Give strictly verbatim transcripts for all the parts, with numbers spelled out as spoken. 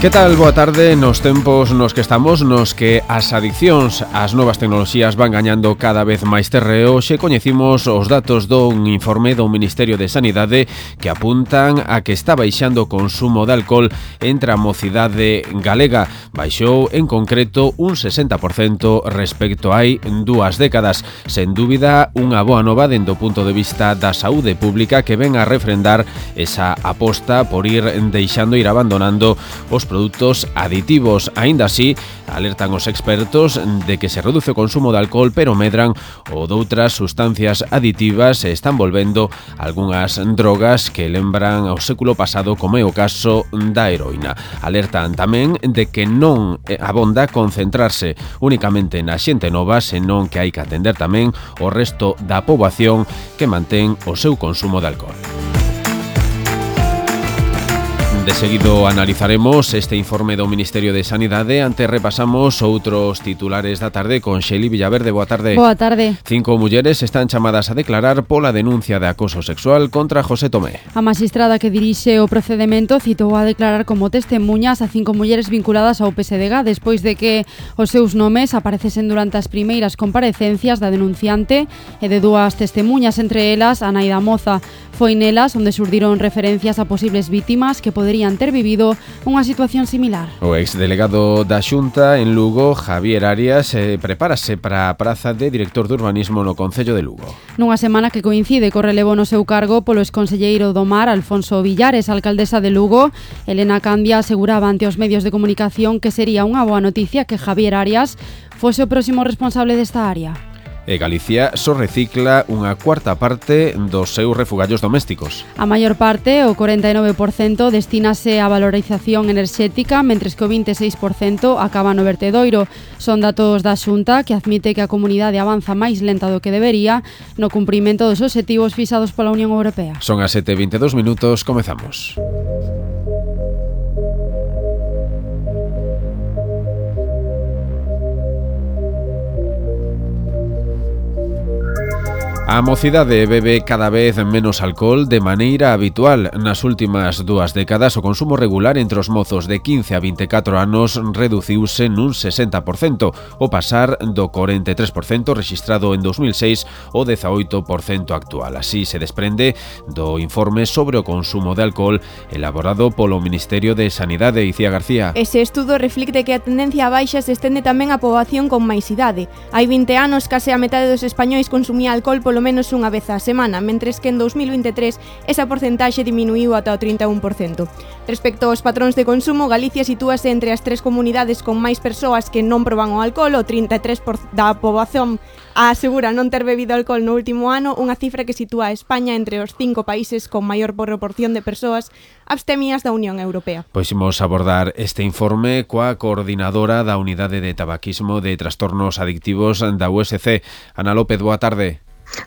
Que tal? Boa tarde. Nos tempos nos que estamos, nos que as adiccións ás novas tecnoloxías van gañando cada vez máis terreo, xe coñecimos os datos dun informe do Ministerio de Sanidade que apuntan a que está baixando o consumo de alcohol entre a mocidade galega. Baixou en concreto un sesenta por cento respecto hai dúas décadas. Sen dúbida, unha boa nova dende o punto de vista da saúde pública que ven a refrendar esa aposta por ir deixando, ir abandonando os produtos aditivos. Aínda así, alertan os expertos de que se reduce o consumo de alcohol, pero medran o doutras sustancias aditivas e están volvendo algunhas drogas que lembran ao século pasado, como é o caso da heroína. Alertan tamén de que non abonda concentrarse únicamente na xente nova, senón que hai que atender tamén o resto da poboación que mantén o seu consumo de alcohol. De seguido analizaremos este informe do Ministerio de Sanidade. Antes repasamos outros titulares da tarde con Xeli Villaverde. Boa tarde. Boa tarde. Cinco mulleres están chamadas a declarar pola denuncia de acoso sexual contra José Tomé. A magistrada que dirixe o procedemento citou a declarar como testemuñas a cinco mulleres vinculadas ao P S D G despois de que os seus nomes aparecesen durante as primeiras comparecencias da denunciante e de dúas testemuñas, entre elas a nai da moza. Foi nelas onde surdiron referencias a posibles vítimas que poderían ter vivido unha situación similar. O exdelegado da Xunta en Lugo, Javier Arias, eh, prepárase para a praza de director de urbanismo no Concello de Lugo. Nunha semana que coincide co relevo no seu cargo polo exconselleiro do Mar, Alfonso Villares, alcaldesa de Lugo, Elena Candia aseguraba ante os medios de comunicación que sería unha boa noticia que Javier Arias fose o próximo responsable desta área. E Galicia só recicla unha cuarta parte dos seus refugallos domésticos. A maior parte, o cuarenta e nove por cento, destínase á valorización enerxética, mentres que o vinte e seis por cento acaba no vertedoiro. Son datos da Xunta que admite que a comunidade avanza máis lenta do que debería no cumprimento dos obxectivos fixados pola Unión Europea. Son as sete e vinte e dous minutos, comezamos. A mocidade bebe cada vez menos alcohol de maneira habitual. Nas últimas dúas décadas, o consumo regular entre os mozos de quince a vinte e catro anos reduciuse nun sesenta por cento, o pasar do corenta e tres por cento rexistrado en dos mil seis ao dezaoito por cento actual. Así se desprende do informe sobre o consumo de alcohol elaborado polo Ministerio de Sanidade. Icía García. Ese estudo reflicte que a tendencia a baixa se estende tamén á poboación con máis idade. Hai vinte anos, case a metade dos españois consumía alcohol polo menos unha vez á semana, mentres que en dos mil vinte e tres esa porcentaxe diminuiu ata o trinta e un por cento. Respecto aos patróns de consumo, Galicia sitúase entre as tres comunidades con máis persoas que non proban o alcohol. O trinta e tres por cento da poboación asegura non ter bebido alcohol no último ano, unha cifra que sitúa a España entre os cinco países con maior proporción de persoas abstemias da Unión Europea. Pois imos abordar este informe coa coordinadora da Unidade de Tabaquismo de Trastornos Adictivos da U S C. Ana López, boa tarde.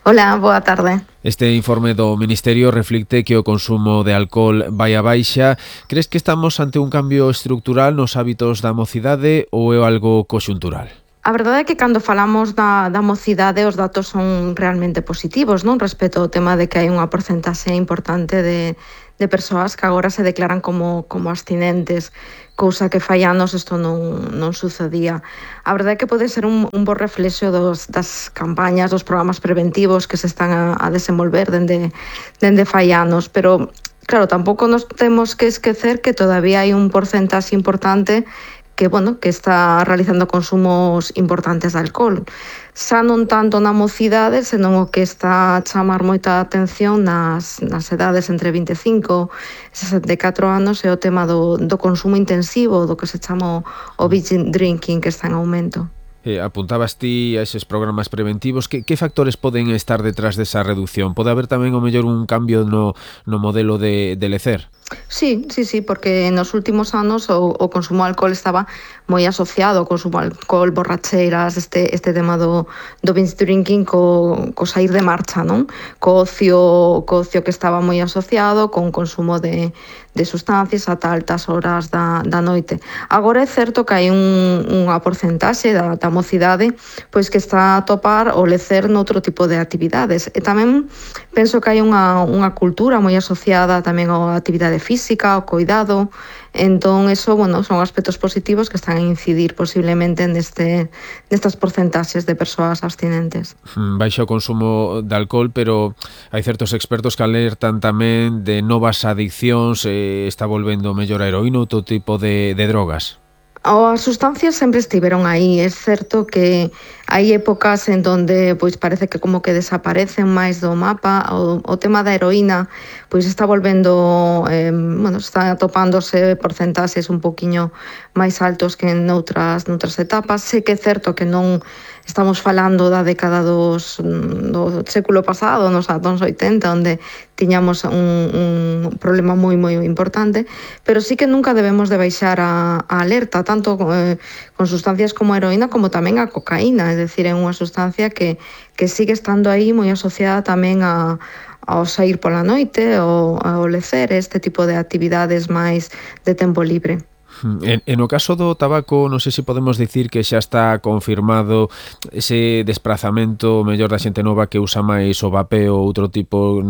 Hola, boa tarde. Este informe do Ministerio reflicte que o consumo de alcohol vai a baixa. Crees que estamos ante un cambio estrutural nos hábitos da mocidade ou é algo conxuntural? A verdade é que cando falamos da, da mocidade os datos son realmente positivos, non? Respecto ao tema de que hai unha porcentaxe importante de, de persoas que agora se declaran como, como abstinentes, cousa que fai anos isto non, non sucedía. A verdade é que pode ser un, un bo reflexo dos, das campañas, dos programas preventivos que se están a, a desenvolver dende, dende fai anos, pero claro, tampouco nos temos que esquecer que todavía hai un porcentaxe importante que, bueno, que está realizando consumos importantes de alcohol. Xa non tanto na mocidade, senón o que está a chamar moita atención nas, nas edades entre vinte e cinco e sesenta e catro anos é o tema do, do consumo intensivo, do que se chama o binge drinking, que está en aumento. Eh, apuntabas ti a eses programas preventivos. Que, que factores poden estar detrás desa reducción? Pode haber tamén o mellor un cambio no, no modelo de, de lecer? Sí, sí, sí, porque nos últimos anos o, o consumo de alcohol estaba moi asociado ao consumo de alcohol, borracheiras, este, este tema do, do binge drinking co, co sair de marcha, non? Co ocio, co ocio que estaba moi asociado con consumo de, de sustancias ata altas horas da, da noite. Agora é certo que hai un, unha porcentaxe da, da mocidade pois que está a topar o lecer noutro tipo de actividades. E tamén penso que hai unha, unha cultura moi asociada tamén á actividade actividade física, o coidado. Entón, eso, bueno, son aspectos positivos que están a incidir posiblemente neste, nestas porcentaxes de persoas abstinentes. Baixo o consumo de alcohol, pero hai certos expertos que alertan tamén de novas adiccións, eh, está volvendo mellor a heroína ou todo tipo de, de drogas. As sustancias sempre estiveron aí. É certo que hai épocas en donde pois parece que como que desaparecen máis do mapa. O, o tema da heroína pois está volvendo, eh, bueno, está atopándose porcentaxes un poquiño máis altos que en outras, noutras etapas. Sei que é certo que non estamos falando da década dos, do século pasado, nos anos oitenta, onde tiñamos un, un problema moi moi importante, pero sí que nunca debemos de baixar a, a alerta, tanto eh, con sustancias como a heroína como tamén a cocaína, é dicir, é unha sustancia que, que sigue estando aí moi asociada tamén a ao sair pola noite, ou ao lecer, este tipo de actividades máis de tempo libre. En, en o caso do tabaco, non sei se podemos dicir que xa está confirmado ese desprazamento mellor da xente nova que usa máis o vapeo ou outro tipo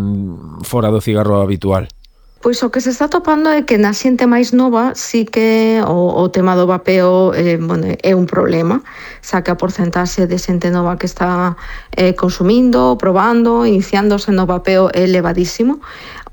fora do cigarro habitual. Pois o que se está topando é que na xente máis nova sí que o, o tema do vapeo eh, bueno, é un problema, xa que a porcentaxe de xente nova que está eh, consumindo, probando, iniciándose no vapeo é elevadísimo.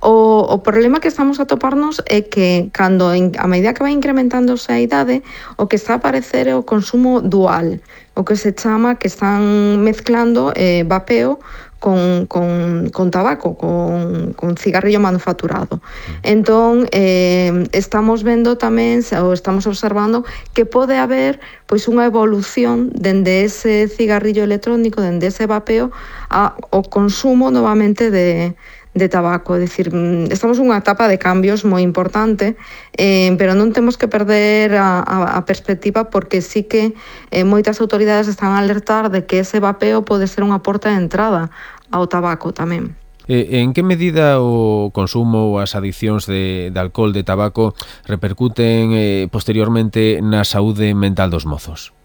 O, o problema que estamos a toparnos é que cando a medida que vai incrementándose a idade, o que está a aparecer é o consumo dual, o que se chama que están mezclando eh, vapeo con, con, con tabaco, con, con cigarrillo manufacturado. Entón, eh, estamos vendo tamén, ou estamos observando, que pode haber pois unha evolución dende ese cigarrillo electrónico, dende ese vapeo, ao consumo novamente de de tabaco, é dicir, estamos nunha etapa de cambios moi importante, eh, pero non temos que perder a, a, a perspectiva, porque sí que eh, moitas autoridades están a alertar de que ese vapeo pode ser unha porta de entrada ao tabaco tamén. Eh, en que medida o consumo ou as adiccións de, de alcohol, de tabaco, repercuten eh, posteriormente na saúde mental dos mozos?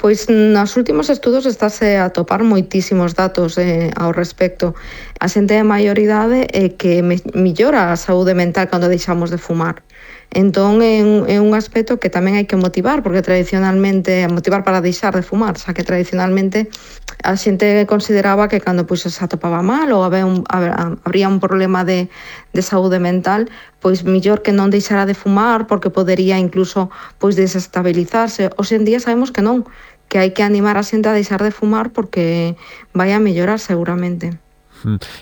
Pois nos últimos estudos estáse a topar moitísimos datos eh, ao respecto. A xente de maioridade é que me, millora a saúde mental cando deixamos de fumar. Entón é un, é un aspecto que tamén hai que motivar, porque tradicionalmente, motivar para deixar de fumar, xa que tradicionalmente a xente consideraba que cando pois, se atopaba mal ou había un, habría un problema de, de saúde mental, pois millor que non deixara de fumar, porque podería incluso pois desestabilizarse. Hoxe en día sabemos que non, que hai que animar a xente a deixar de fumar porque vai a mellorar seguramente.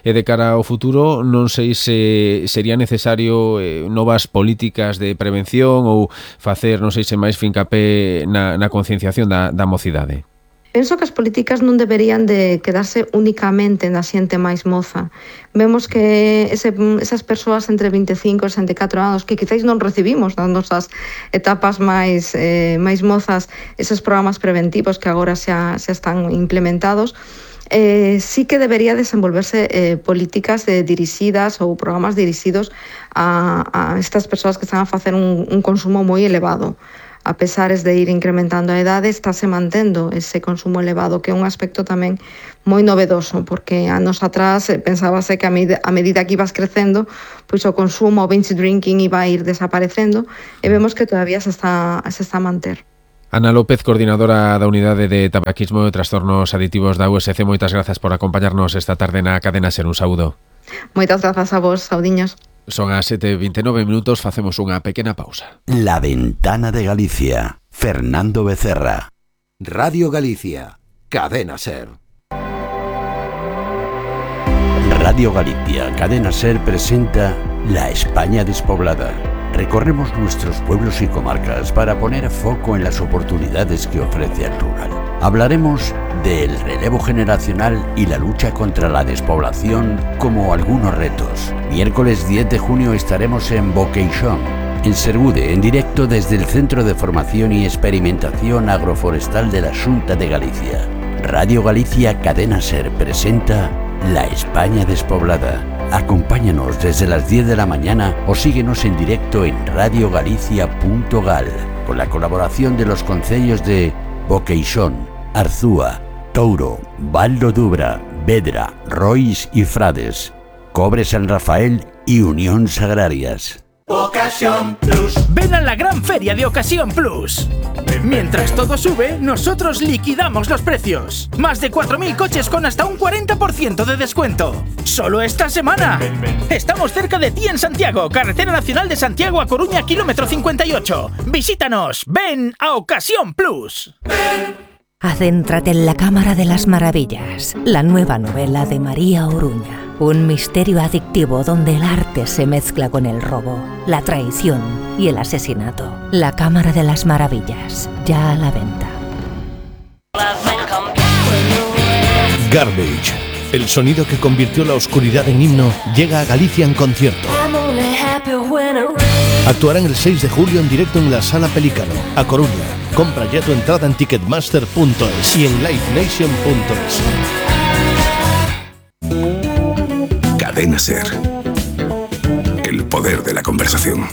E de cara ao futuro, non sei se sería necesario eh, novas políticas de prevención ou facer, non sei se máis fincapé na, na concienciación da, da mocidade. Penso que as políticas non deberían de quedarse únicamente na xente máis moza. Vemos que ese, esas persoas entre vinte e cinco e sesenta e catro anos que quizáis non recibimos nas nosas etapas máis, eh, máis mozas, esos programas preventivos que agora xa, xa están implementados, Eh, sí que debería desenvolverse eh, políticas eh, dirixidas ou programas dirixidos a, a estas persoas que están a facer un, un consumo moi elevado. A pesares de ir incrementando a idade, estáse mantendo ese consumo elevado, que é un aspecto tamén moi novedoso, porque anos atrás eh, pensábase que a, med- a medida que ibas crecendo, pois o consumo, o binge drinking iba a ir desaparecendo, e vemos que todavía se está, se está a manter. Ana López, coordinadora da Unidade de Tabaquismo e Trastornos Aditivos da U S C, moitas grazas por acompañarnos esta tarde na Cadena Ser. Un saúdo. Moitas grazas a vos, saudiños. Son as sete e vinte e nove minutos, facemos unha pequena pausa. La Ventana de Galicia, Fernando Becerra. Radio Galicia, Cadena Ser. Radio Galicia, Cadena Ser presenta La España despoblada. Recorremos nuestros pueblos y comarcas para poner foco en las oportunidades que ofrece el rural. Hablaremos del relevo generacional y la lucha contra la despoblación como algunos retos. Miércoles diez de junio estaremos en Boqueixón, en Sergude, en directo desde el Centro de Formación y Experimentación Agroforestal de la Xunta de Galicia. Radio Galicia Cadena Ser presenta La España despoblada. Acompáñanos desde las diez de la mañana o síguenos en directo en radio galicia punto gal, con la colaboración de los concellos de Boqueixón, Arzúa, Touro, Val do Dubra, Vedra, Rois y Frades, Cobre San Rafael y Unións Agrarias. Ocasión Plus. Ven a la gran feria de Ocasión Plus. Mientras todo sube, nosotros liquidamos los precios. Más de cuatro mil coches con hasta un cuarenta por ciento de descuento. Solo esta semana. Estamos cerca de ti en Santiago, Carretera Nacional de Santiago a Coruña, kilómetro cincuenta y ocho. Visítanos. Ven a Ocasión Plus. Adéntrate en la Cámara de las Maravillas, la nueva novela de María Oruña. Un misterio adictivo donde el arte se mezcla con el robo, la traición y el asesinato. La Cámara de las Maravillas, ya a la venta. Garbage, el sonido que convirtió la oscuridad en himno, llega a Galicia en concierto. Actuarán el seis de julio en directo en la Sala Pelícano, a Coruña. Compra ya tu entrada en ticketmaster punto es y en live nation punto es. Cadena Ser. El poder de la conversación.